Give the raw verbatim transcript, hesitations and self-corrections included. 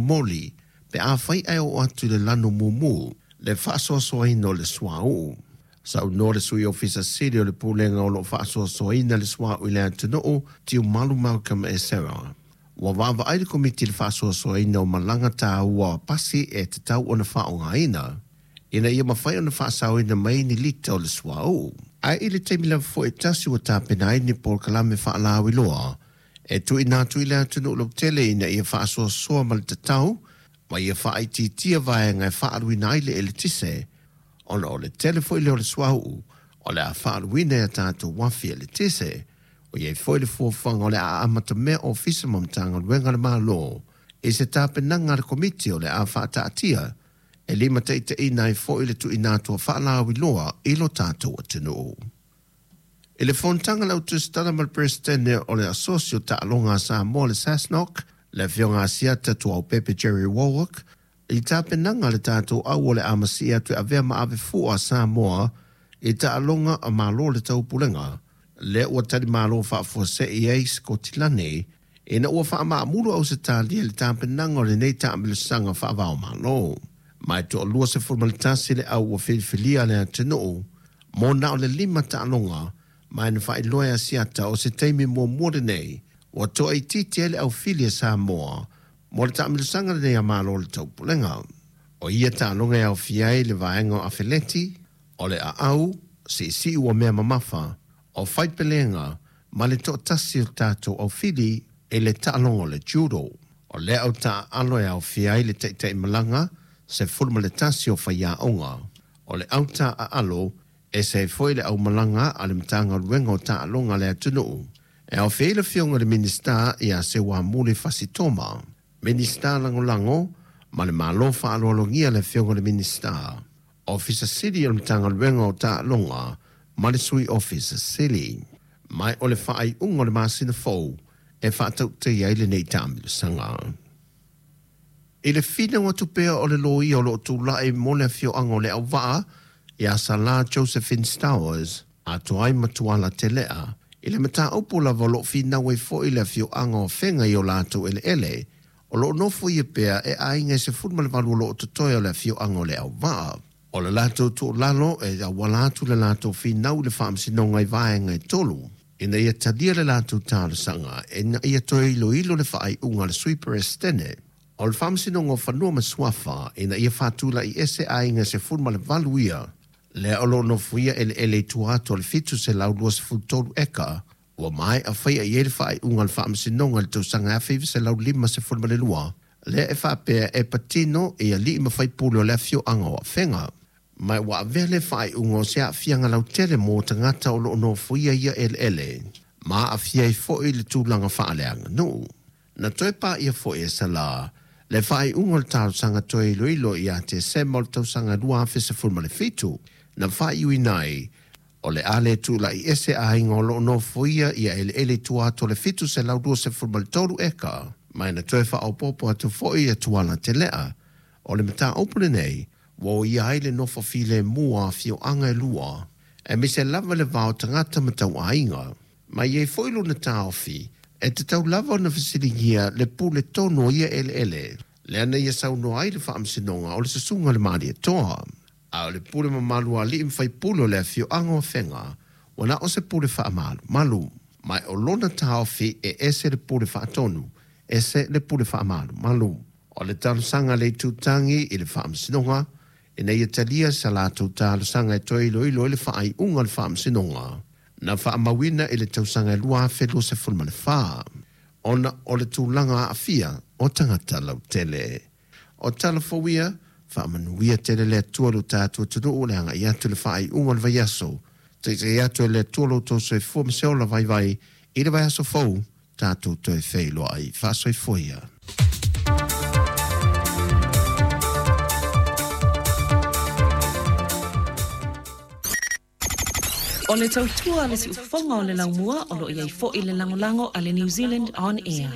moli pe afai ae oo atu i le lanu mumu le faasoasoaina o le suauu. Saunoa le Sui Ofisa Sili o le Pulega o loo faasoasoaina le suauu i le atunuu, Tiumalu Malcolm Esera, ua vaavaai le Komiti i le faasoasoaina o malaga taua o pasi e tatau ona faaaogaina ina ia mafai ona faasaoina mai ni lita o le suauu. Ae i le taimi lava foi e tasi ua tapena ai ni polokalame faalauiloa e tuuina atu i le atunuu lautele ina ia faasoasoa ma le tatau ma ia faaitiitia vaega e faaluina ai le eletise, ona o le tele foi lea o le suauu o le a faaluina i a tatou uafi eletise. O iai foi le fuafuaga o le a amatamea ofisa ma Matagaluega a le Malo i se tapenaga a le Komiti o le a faataatia e limataitaiina ai foi le tuuina atu o faalauiloa i lo tatou atunuu. I le fonotaga a le Au Tusitala ma le Peresetene o le Asosi o Taaloga a Samoa le SASNOC, le Afioga Asiata Tuaopepe Jerry Warwick, i tapenaga a le tatou au o le a masii atu e avea ma ave fua a Samoa i taaloga a Malo o le Taupulega, lea ua talimalo faafuasei ai Sikotilani ina ua faamaamulu Ausetalia i le tapenaga o lenei taamilosaga faava-o-Malo. Ma e toalua sefulu ma le tasi le au ua filifilia a le atunuu mo na o le lima taaloga, ma e na faailoa e Asiata o se taimi muamua lenei ua toaitiiti ai le aufili a Samoa mo le taamilosaga lenei a Malo o le Taupulega. O ia taaloga e aofia ai le vaega o afeleti, o le aau, siisii ua mea mamafa, o faipelega ma le toatasi o tatou aufili i le taaloga o le judo. O lea au taaalo e aofia ai le taitaimalaga sefulu ma le tasi o faiaoga. O le au taaalo e ese ai foi le aumalaga a le Matagaluega o Taaloga a le atunuu e aofia ai le Afioga i le Minisita ia Seuamuli Fasi Toma, Minisita Lagolago ma le Malo faaaloalogia le Afioga i le Minisita, Ofisa Sili o le Matagaluega o Taaloga ma le Sui Ofisa Sili. Ma o le faaiuga o le masina fou e faatautaia ai lenei taamilosaga. I le finau atu pea o le loia o loo tulai mo le afioaga o Leauvaa ia Salā Josephine Stowers atoa ai ma Tuala Telea i le mataupu lava o loo finau ai foi le afioaga o Afega i o latou eleele o loo nofoia pea e aiga e sefulu ma le valu o loo totoe o le afioaga o Leauvaa. O le latou tuualalo e auala atu le latou finau i le Faamasinoga i vaega e tolu ina ia talia le latou talosaga ina ia toe iloilo le faaiuga a le Sui Peresetene o le Faamasinoga o Fanua ma Suafa ina ia faatulai ese aiga sefulu ma le valu ia lea o loo nofoia eleele i tua atu o le fitu selau luasefulu tolu eka ua maea faia i ai le faaiuga a le Faamasinoga i le tausaga afe iva selau lima sefulu ma le lua lea e faapea e patino i alii ma faipule o le afioaga o Afega. Ma ua avea le faaiuga o se aafiaga lautele mo tagata o loo nofoia ia eleele ma aafia ai foi le tulaga faaleaganuu. Na toe paia foi e Salā le faaiuga o le talosaga toe iloilo ia Tesema o le tausaga lua afe sefulu ma le fitu na faaiuina ai o le a le tulai ese aiga o loo nofoia ia eleele i tua atu o le fitu selau luasefulu ma le tolu eka. Ma na toe faaopoopo atu foi e Tuala Telea o le mataupu lenei ua oia ai le nofo filemu a afioaga e lua aemaise lava le va o tagata ma tauaiga. Ma i ai foi lona taofi e tatau lava ona fesiligia le pule tonu o ia eleele lea na ia saunoa ai le Faamasinoga o le susuga i le Malietoa. A o le pule mamalu a alii ma faipule o le afioaga o Afega ua na o se pule faamalumalu. Ma o lona taofi e ese le pule faatonu, ese le pule faamalumalu. O le talosaga a le Itutagi i le Faamasinoga ina ia talia sa latou talosaga e toe iloilo ai le faaiuga o le Faamasinoga na faamauina i le tausaga e lua afe luasefulu ma le fa ona o le tulaga aafia o tagata lautele. O tala fou ia, faamanuia tele le Atua lo tatou atunuu le agai atu i le faaiuga o le vaiaso. Taitai atu e le Atua lo outou soifua ma se ola vaivai i le vaiaso fou tatou toe feiloai. Faasoifua ia. O le tautua a le siufofoga o le laumua o lo o i ai foi le lagolago a le New Zealand On Air.